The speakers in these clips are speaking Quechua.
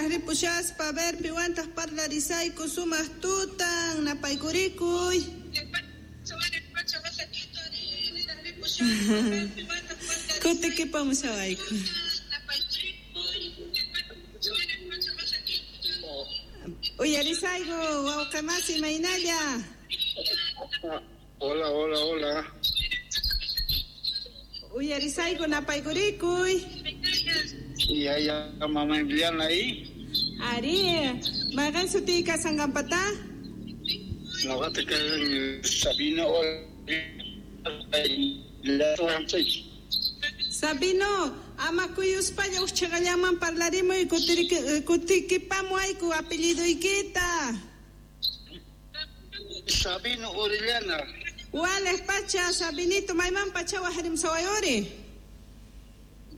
Niraj ripushaspa, a ver, piwantaq parlarisayku sumaq tutan, napaykurikuy. Kutikipamushawayku. Uyarisayku, wawqi masi, imaynalla? Hola, hola, hola. Uyarisayku, napaykurikuy. Ya, mamá Emiliana ahí. Ari, mayqin sutiyki kashanqanpata? Noqata kashan Sabino. Sabino, ama kuyuspalla uj chhiqallaman parlarimuy, kutikipamuwayku apelliduykita. Sabino Orellana. Waliq pacha, Sabinito, mayman pacha waqrimusawayuri?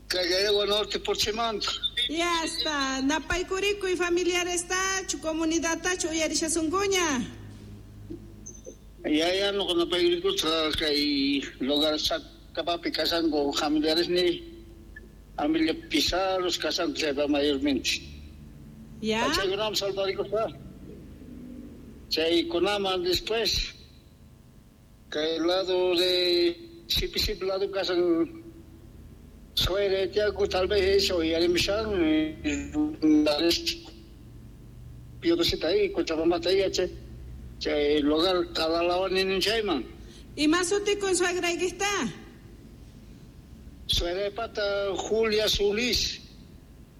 Callao Norte Porchimanta. Ya está, napaykurikuy familiarestachu, comunidadtachu uyarishasunkuña. Ya, noqa napaykurikusta kay lugar Sacapapi kashanku familiares ni familia Pizarros kashanku chaypa mayormente. Ya. Chaykunaman saludarikuspa. Chaykunaman después kay lado de Sipi lado kashan suere tiaku tal vez eso uyarimushan Piodosita ahí, Cochabamba ahí, che. Chay lugar Calalawan ninin chayman. Ima sutikun suegraykista? Suegraypata Julia Solís.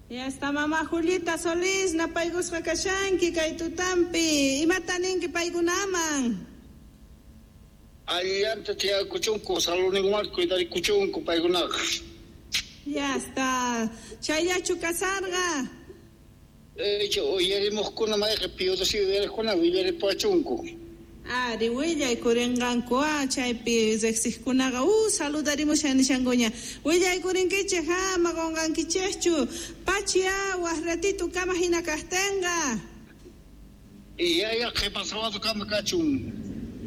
Ya está mamá Julita Solís, napaykusqa kashanki kay tutampi. Imata ninki paykunaman? Allanta tiyakuchunku, saludninkuman cuidarikuchunku paykunaqa. Ya está. Chayllachu kasarqa? Uyarimuqkuna mayqa Piodosi uyariqkuna willaripuwachunku. Ari, willaykurinqanku, chaypi riqsiqkunaqa, saludarimushan nishankuña. Willaykurinkichik, ama qunqankichikchu. Pachi, waq ratito kama hina kaqtinqa. Ya, qhipa sábado kama kachun.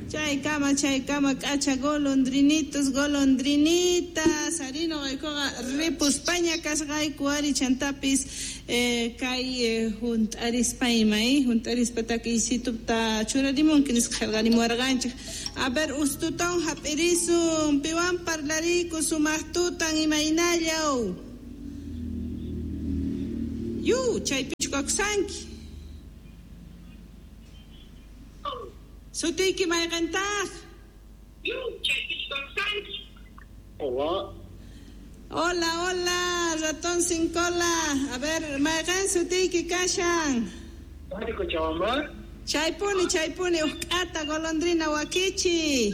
Chaykama, chaykama, k'acha golondrinitos, golondrinitas. Ari noqaykuqa ripuspaña kasqayku, ari chantapis kay hunt'arispa ima, hunt'arispa takiysituta churarimunki nisqa qillqarimuwarqanchik. A ver, ustutawan hap'irisun, piwan parlariku sumaq tutan imaynallaw. Yu, chaypichu kakusanki. Sutiyki mayqintaq? Hola. Hola, hola, ratón sin cola. A ver, mayqin sutiyki kashan? Cochabamba. Chaypuni, chaypuni, uqk'ata golondrina wakichi.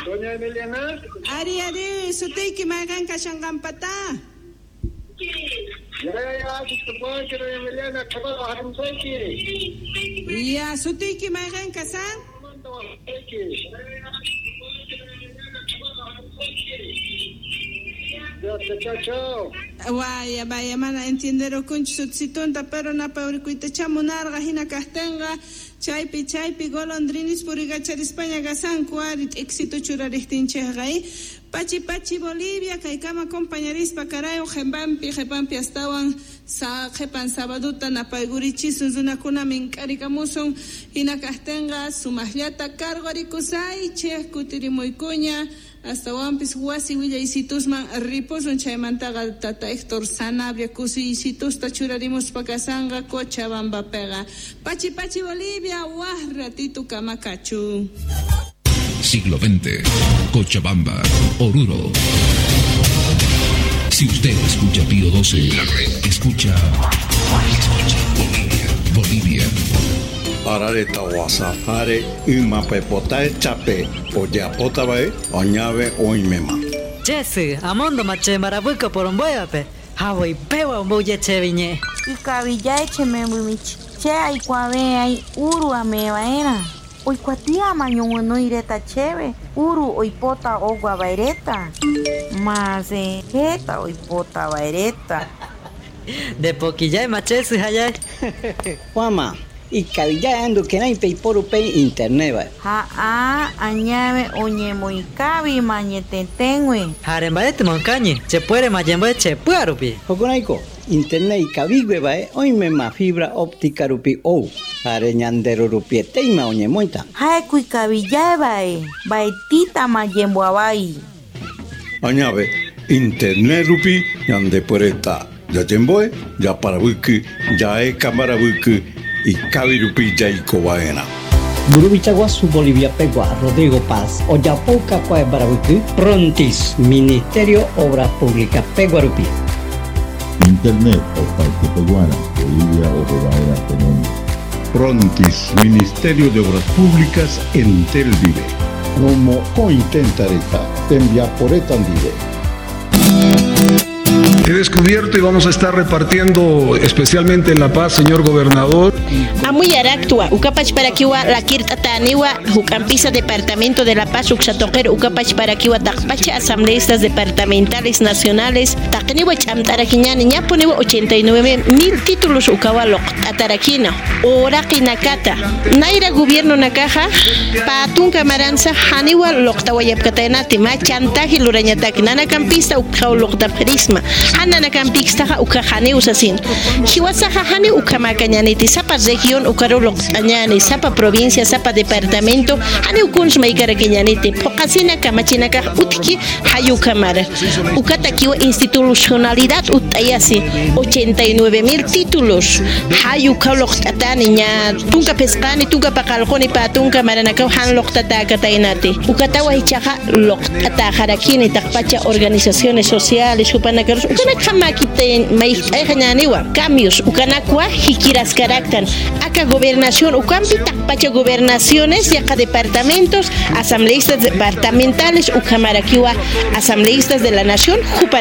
Doña Emiliana. Ari, ari, sutiyki mayqin kashanqanpata? Ya, doña Emiliana, Ya, sutiyki mayqin kashan? Chao, chao. Vaya, vaya, mana entienderukunchu sutisitunta, pero napayurikuytacha munarqa hina kaqtinqa chaypi, chaypi golondrinis puriykacharispaña kasanku ari t'ikisitu churariqtinchikqa, Pachi, pachi, Bolivia, kaykama compañarispa karayo qhipampi, qhipampi astawan qhipan sabaduta napaykurichisun runakuna mink'arikamusun hina kaqtinqa sumaqllata cargorikusaychik kutirimuykuña astawanpis wasi willaysitusman ripusun chaymantaqa tata Héctor Sanabria kusiysitusta churarimuspa kasanqa Cochabambapiqa. Pachi, pachi, Bolivia, waq ratito kamakachu. Siglo XX, Cochabamba, Oruro. Si usted escucha Pío 12, la red escucha, escucha Bolivia, Bolivia. Arareta wasafare ymapepotae chape ojapotabae oñave oimema. Jesse, amondo mache marabuco por un bueape. Hawi pewa umbuye cheviñe. Ikavillae chemembumich. Che aikuave ai uru amevaera. Oikuatia mañono ireta cheve. Uru oipota ogua vaireta. Mase jeta oipota vaireta. De poquillay machesu hayay. Juama. Ikavillay ando kenaipe iporupe internet va. Ha a añave oñemoikavi mañetetengue. Jarembaete moncañe, che puere mayembe che puarupi. Joconaiko, Internet ikaviguevae oimema fibra óptica rupi ou. Jare ñandero rupieteima oñemoita. Ha'éko ikavijáevae mba'etítama jemboavái. Añave, internet rupi ñandepuereta yachemboe, yaparavyky, jaeka maravyky, ikavi rupi jaikova'erã. Mburuvicha guasu Bolivia pegua Rodrigo Paz ojapouka ko'ã maravyky Prontis Ministerio Obras Públicas pegua rupi. Internet opaite peguára Bolivia ohova'erã tenonde. Prontis, Ministerio de Obras Públicas, Entel ndive. Romokõ tentareta, tembiaporeta ndive. He descubierto y vamos a estar repartiendo, especialmente en La Paz, señor gobernador. Amuyaraktua, ukapach parakiwa lakirtataniwa, Jucampisa Departamento de La Paz, Uxatoquero, ukapach parakiwa takpacha asambleístas departamentales nacionales, taqniwa ch'amtarakiñani, ñapuniwa 89 mil títulos ukawaloq, tatarakina, oraqi nakata, naira gobierno nakaja, patunka maranza, haniwa loqtawayapkataynati, ma chantaje lurañataki, nanacampista ukawloqta prisma, hananacampixtaja ukajani usasin. Hiwasaja hani ukamakañaniti, sapa región ukaruloq añani, sapa provincia, sapa departamento, hani ukuns maikarakiñaniti, poqasina kamachinaka utki hayukamara. Ukatakiwa institucionalidad utayasi, 89 mil títulos, hayukaloq tatani ña, tunka pesqani, tunka paqalqoni patunka maranakaw han loqtatakataynati. Ukatawa hichaja loqtatajarakini taqpacha organizaciones sociales, hupanakaros, ukanaka makiten maijñaniwa, cambios, ukanakwa jikiras karaktan, acá gobernación, ukampi taqpacha gobernaciones, yaqa departamentos, asambleístas departamentales, ukamarakiwa asambleístas de la nación,